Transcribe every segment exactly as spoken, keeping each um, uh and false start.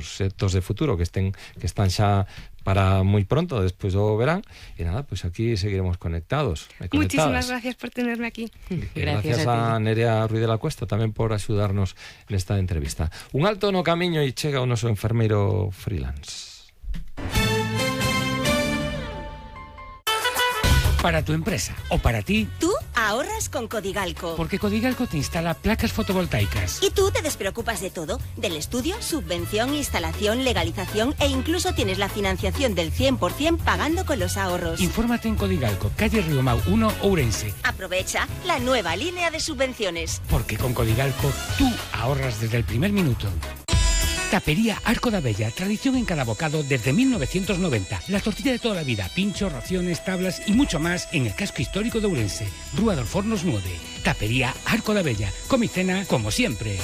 proxectos de futuro que estén que están xa para moi pronto, despois do verán. E nada, pois pues aquí seguiremos conectados. Muchísimas gracias por tenerme aquí. Gracias, gracias a, a Nerea Ruiz de la Cuesta tamén por axudarnos nesta entrevista. Un alto no camiño e chega o noso enfermeiro freelance. Para tu empresa o para ti. Tú ahorras con Codigalco. Porque Codigalco te instala placas fotovoltaicas. Y tú te despreocupas de todo. Del estudio, subvención, instalación, legalización e incluso tienes la financiación del cien por cien pagando con los ahorros. Infórmate en Codigalco, calle Riomau uno, Ourense. Aprovecha la nueva línea de subvenciones. Porque con Codigalco tú ahorras desde el primer minuto. Tapería Arco da Bella, tradición en cada bocado desde mil novecientos noventa. La tortilla de toda la vida, pinchos, raciones, tablas y mucho más en el casco histórico de Ourense. Rúa dos Fornos nueve. Tapería Arco da Bella. Come y cena como siempre.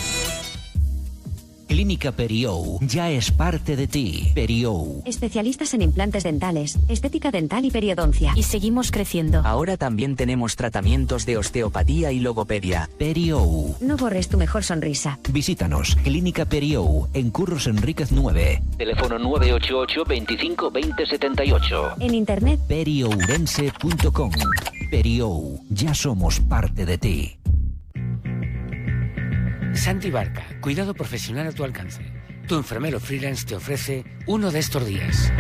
Clínica Periou ya es parte de ti. Periou. Especialistas en implantes dentales, estética dental y periodoncia. Y seguimos creciendo. Ahora también tenemos tratamientos de osteopatía y logopedia. Periou. No borres tu mejor sonrisa. Visítanos. Clínica Periou en Curros Enríquez nueve. Teléfono nueve ocho ocho, veinticinco, veinte, setenta y ocho. En internet periourense punto com. Periou. Ya somos parte de ti. Santi Barca, cuidado profesional a tu alcance. Tu enfermero freelance te ofrece uno de estos días.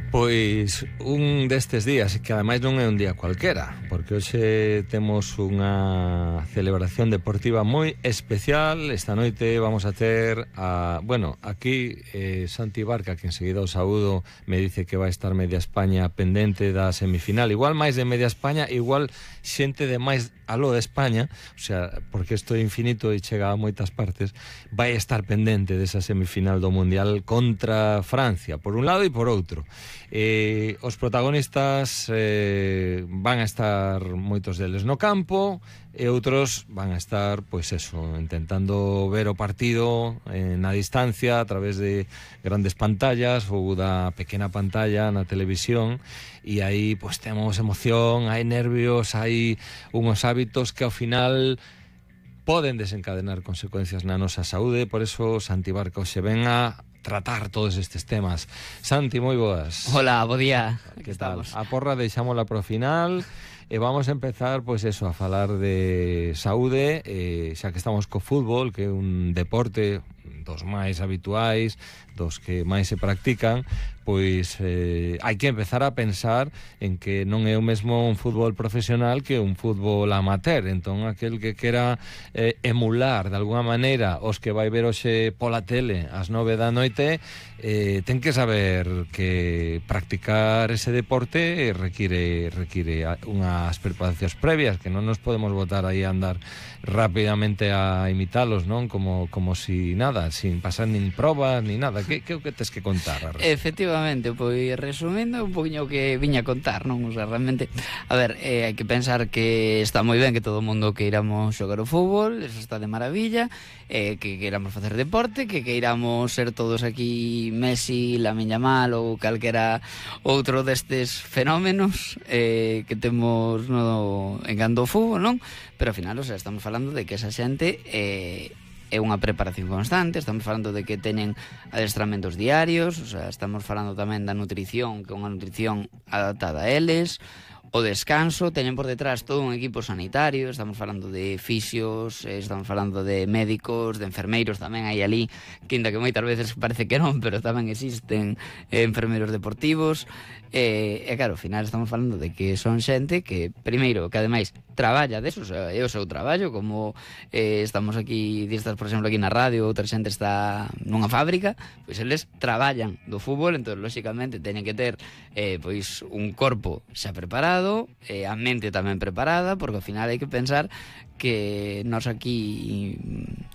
Pois un destes días, que ademais non é un día cualquera, porque hoxe temos unha celebración deportiva moi especial. Esta noite vamos a ter a, bueno, aquí eh, Santi Barca, que enseguida o saúdo, me dice que vai estar media España pendente da semifinal, igual máis de media España, igual xente de máis aló de España, o sea, porque isto é infinito e chega a moitas partes, vai estar pendente desa semifinal do Mundial contra Francia, por un lado e por outro. Eh, os protagonistas eh, van a estar moitos deles no campo e outros van a estar, pois eso, intentando ver o partido eh, na distancia a través de grandes pantallas ou da pequena pantalla na televisión, e aí pois temos emoción, hai nervios, hai unhos hábitos que ao final poden desencadenar consecuencias na nosa saúde. Por eso Santi Barca hoxe ven a tratar todos estes temas. Santi, moi boas. Hola, bo día. Que tal? A porra deixámola pro final e vamos a empezar, pois eso, a falar de saúde, eh, xa que estamos co fútbol, que é un deporte dos máis habituais, dos que máis se practican, pois eh, hai que empezar a pensar en que non é o mesmo un fútbol profesional que un fútbol amateur. Entón, aquel que quera eh, emular de alguna maneira os que vai ver hoxe pola tele ás nove da noite, eh, ten que saber que practicar ese deporte require, require unhas preparacións previas, que non nos podemos botar aí a andar rápidamente a imitalos, non? Como, como si nada, sin pasar nin probas, ni nada. Que, que, que tes que contar? Efectivamente, pois resumindo un poquinho que viña a contar, non? O sea, realmente, a ver, eh, hai que pensar que está moi ben que todo o mundo queiramos xogar o fútbol, eso está de maravilla, eh, que queiramos facer deporte, que queiramos ser todos aquí Messi, Lamine Yamal ou calquera outro destes fenómenos eh, que temos no engando o fútbol, non? Pero ao final, o sea, estamos falando de que esa xente eh, é unha preparación constante, estamos falando de que teñen adestramentos diarios, o sea, estamos falando tamén da nutrición, que é unha nutrición adaptada a eles, o descanso, teñen por detrás todo un equipo sanitario, estamos falando de fisios, estamos falando de médicos, de enfermeiros tamén hai ali, que ainda que moitas veces parece que non, pero tamén existen eh, enfermeiros deportivos, e, e claro, ao final estamos falando de que son xente que, primeiro, que ademais traballa deso, o sea, é o seu traballo, como eh, estamos aquí, distas, por exemplo, aquí na radio, outra xente está nunha fábrica, pois eles traballan do fútbol, entón, lóxicamente, teñen que ter eh, pois un corpo xa preparado, e a mente tamén preparada, porque ao final hai que pensar que nós aquí,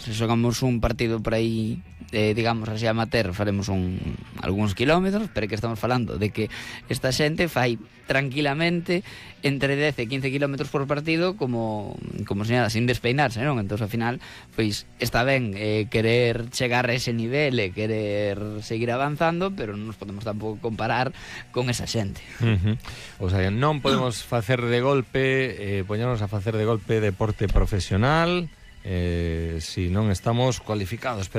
se xogamos un partido por aí, eh, digamos así amateur, faremos un, algúns kilómetros, pero que estamos falando de que esta xente fai tranquilamente entre dez e quince kilómetros por partido como, como se nada, sin despeinarse, non? Entón, ao final, pois, está ben eh, querer chegar a ese nivel e querer seguir avanzando, pero non nos podemos tampouco comparar con esa xente. Uh-huh. O sea, non podemos facer de golpe, eh, poñernos a facer de golpe deporte profesional, eh, si non estamos cualificados, pero